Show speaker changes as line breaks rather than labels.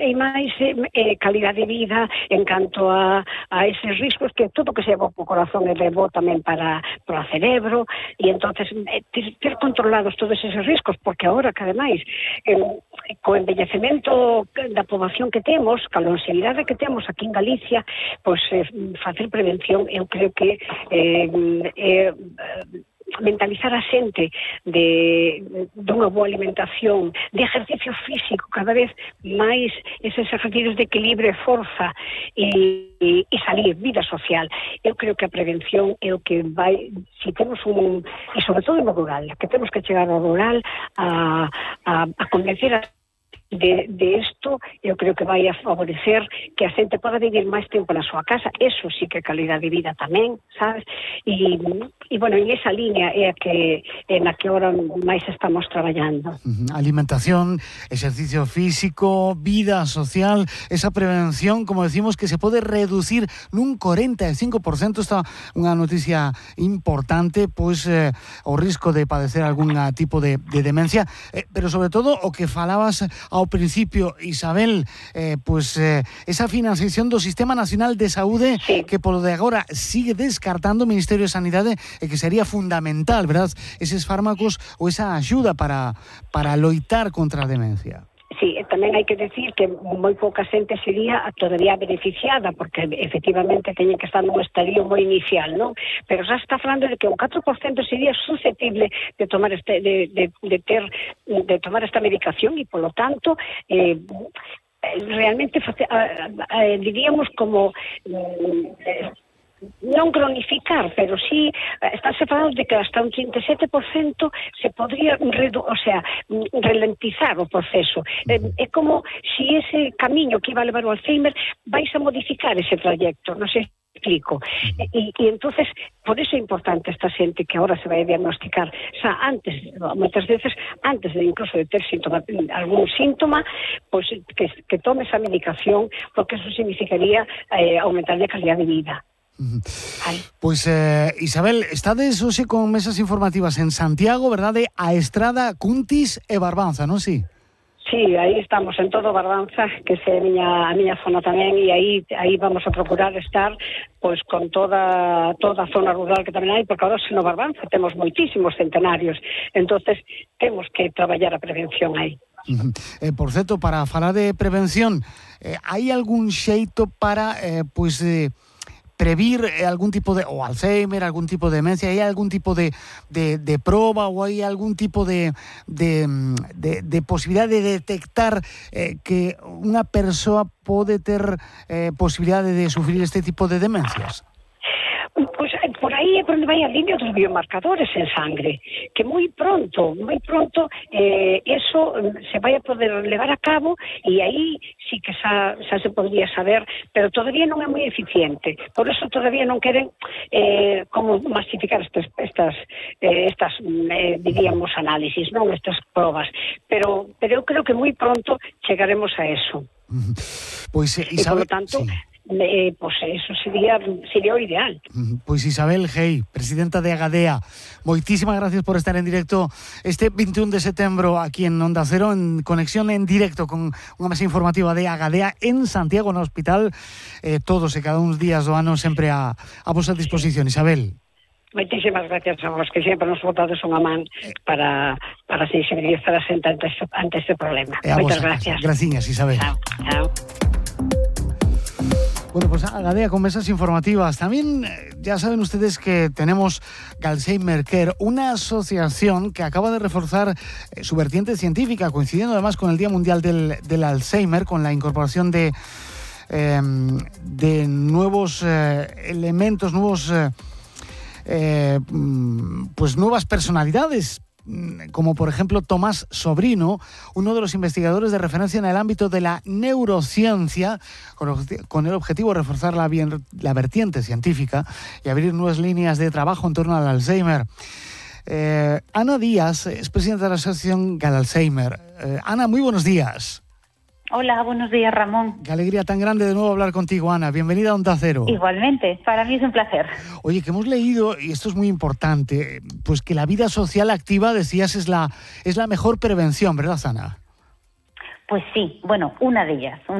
e máis calidade de vida en canto a eses riscos que todo que se leva ao corazón é bo tamén para o cerebro, e entonces ter controlados todos eses riscos, porque agora que ademais co envellecemento da poboación que temos, ca longevidade que temos aquí en Galicia, pois facer prevención eu creo que mentalizar a xente dunha boa alimentación, de ejercicio físico, cada vez máis eses ejercicios de equilibrio e forza e salir, vida social. Eu creo que a prevención é o que vai, se temos e sobre todo no rural, que temos que chegar ao rural a convencer a de isto, eu creo que vai a favorecer que a xente poda vivir máis tempo na súa casa. Eso sí que é calidade de vida tamén, sabes? E bueno, en esa línea é na que ahora máis estamos traballando.
Alimentación, exercicio físico, vida social, esa prevención, como decimos, que se pode reducir nun 45%, está unha noticia importante, pois o risco de padecer algún tipo de demencia, pero sobre todo o que falabas ao principio, Isabel, esa financiación do Sistema Nacional de Saúde, sí, que polo de agora sigue descartando o Ministerio de Sanidade, e que sería fundamental, verdad, eses fármacos ou esa axuda para loitar contra a demencia.
Sí, tamén hai que decir que moi pouca xente sería todavía beneficiada, porque efectivamente teñen que estar nun estadio moi inicial, non? Pero xa está falando de que un 4% sería susceptible de tomar de tomar esta medicación, e polo tanto realmente diríamos como non cronificar, pero sí estáse falando de que hasta un 37% se podría ralentizar o proceso. É como se ese camiño que iba a levar o Alzheimer vais a modificar ese trayecto, non sei se explico. E entonces, por eso é importante esta xente que agora se vai a diagnosticar xa antes, moitas veces antes de incluso de ter algún síntoma, pois que tome esa medicación, porque eso significaría aumentar a calidad de vida.
Pois, Isabel, estades hoxe con mesas informativas en Santiago, verdade? A Estrada, Cuntis e Barbanza, non si?
Sí, aí estamos en todo Barbanza, que é a miña zona tamén, e aí vamos a procurar estar pois con toda a zona rural que tamén hai, porque agora no Barbanza temos moitísimos centenarios, entonces temos que traballar a prevención aí.
Por certo, para falar de prevención, hai algún xeito para previr algún tipo de o Alzheimer, algún tipo de demencia? Hai algún tipo de proba ou hai algún tipo de posibilidade de detectar que unha persoa pode ter posibilidade de sufrir este tipo de demencias?
Pois por aí é por onde vai a línea dos biomarcadores en sangre, que moi pronto eso se vai a poder levar a cabo, e aí sí que xa se podría saber, pero todavía non é moi eficiente, por eso todavía non queren como masificar estas diríamos análisis, non estas probas, pero eu creo que moi pronto chegaremos a eso.
Pois, Isabel,
e por lo tanto, sí, pois eso sería o ideal.
Pois Isabel Gei, presidenta de Agadea, moitísimas gracias por estar en directo este 21 de setembro aquí en Onda Cero, en conexión en directo con unha mesa informativa de Agadea en Santiago, no hospital, todos e cada uns días do ano sempre a vosa disposición, Isabel.
Moitísimas gracias a vos, que sempre nos botades unha man para sensibilizar a xente ante este problema. Moitas gracias.
Graciñas, Isabel.
Chao.
Bueno, pues Agadea con mesas informativas. También ya saben ustedes que tenemos Alzheimer Care, una asociación que acaba de reforzar su vertiente científica, coincidiendo además con el Día Mundial del Alzheimer, con la incorporación de nuevos elementos, nuevas personalidades, como por ejemplo Tomás Sobrino, uno de los investigadores de referencia en el ámbito de la neurociencia, con el objetivo de reforzar la vertiente científica y abrir nuevas líneas de trabajo en torno al Alzheimer. Ana Díaz es presidenta de la asociación Alzheimer. Ana, muy buenos días.
Hola, buenos días, Ramón.
Qué alegría tan grande de nuevo hablar contigo, Ana. Bienvenida a Onda Cero.
Igualmente, para mí es un placer.
Oye, que hemos leído, y esto es muy importante, pues que la vida social activa, decías, es la mejor prevención, ¿verdad, Ana?
Pues sí, bueno, una de ellas.